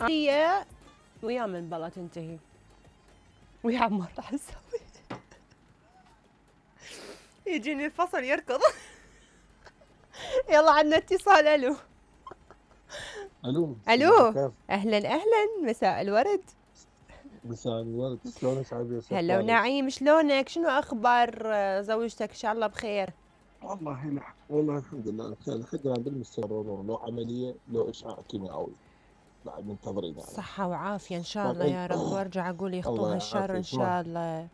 هي ويا من بلا تنتهي ويا عمار راح نسوي يجيني الفصل يركض. يلا عنا اتصال. الو الو الو كيف؟ اهلا اهلا، مساء الورد. مساء الورد، شلونك عبير؟ هلا ونعيم، شلونك؟ شنو اخبار زوجتك؟ ان شاء الله بخير. والله الحمد لله بخير، لحد الان بالمستمر، لو عمليه لو اشعاع كيميائي بعد منتظرين يعني. صحة وعافية ان شاء الله طبعا يا رب، وارجع اقول يخطوها الله الشر ان يعافيك. شاء الله.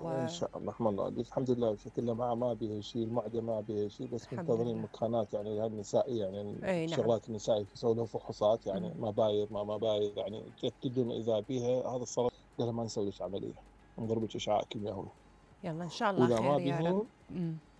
ان شاء الله رحم الله عليك. الحمد لله شكلنا ما بيها شيء، المعده ما بيها شيء، بس الحمد منتظرين لله. مكانات يعني النسائيه، يعني اي نعم. الشغلات النسائيه يسووا لهم فحوصات يعني مبايض ما مبايض، يعني يتاكدون اذا بيها. هذا الصراحه قالوا ما نسوي لك عمليه، نضربك اشعاع كيميائي، يلا ان شاء الله واذا ما خير يا رب.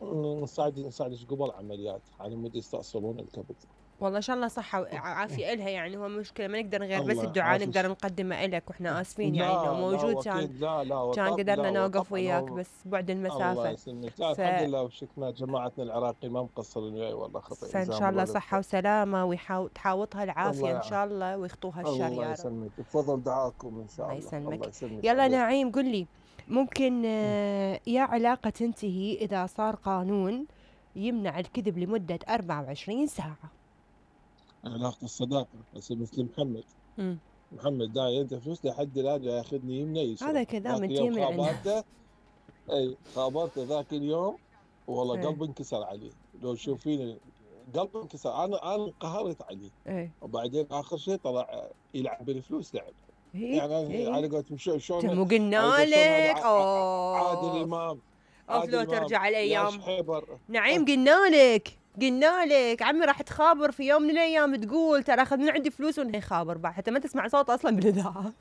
بيهم نساعدك قبل عمليات على مود يستأصلون الكبد. والله ان شاء الله صحة وعافية الها، يعني هو مشكلة ما نقدر غير بس الله الدعاء يعافيك. نقدر نقدمه الك، واحنا اسفين يعني انه لا موجود كان، واكيد، لا كان لا قدرنا نوقف وطبعا وياك هو. بس بعد الله المسافة. يسلمك. لا ف... الحمد لله وشكنا جماعتنا العراقيين ما مقصرين وياي والله، خطأ فان جزاهم شاء الله الله الف صحة خير. وسلامة، وتحاوطها الله العافية ان يعافيك. شاء الله، ويخطوها الشر الله يا رب. يسلمك بفضل دعاكم ان الله شاء الله. يسلمك. الله يسلمك يلا عبير. نعيم قل لي، ممكن يا علاقة تنتهي إذا صار قانون يمنع الكذب لمدة 24 ساعة؟ علاقة الصداقة بس مثل محمد. مم. محمد داعي انت فلوس لحد الان جاي ياخذني يمنى هذا يسرى. كذا ذاك من اليوم يمنع الناس. خابرته. اي خابرته ذاك اليوم، والله ايه قلبي انكسر عليه. لو تشوفيني قلبي انكسر، انا انقهرت عليه. ايه وبعدين اخر شيء طلع يلعب بالفلوس لعب. ايه يعني أنا ايه. على قولتهم شلون، مو على قلنا قول شلون هذا لك عادل اوف. امام. اوف عادل لو امام ترجع يا الايام. شحيبر. نعيم قلنا لك، قلنا لك عمي راح تخابر في يوم من الايام تقول ترى اخذ من عندي فلوس ونهي خابر بعد حتى ما تسمع صوت اصلا بالاذاعه.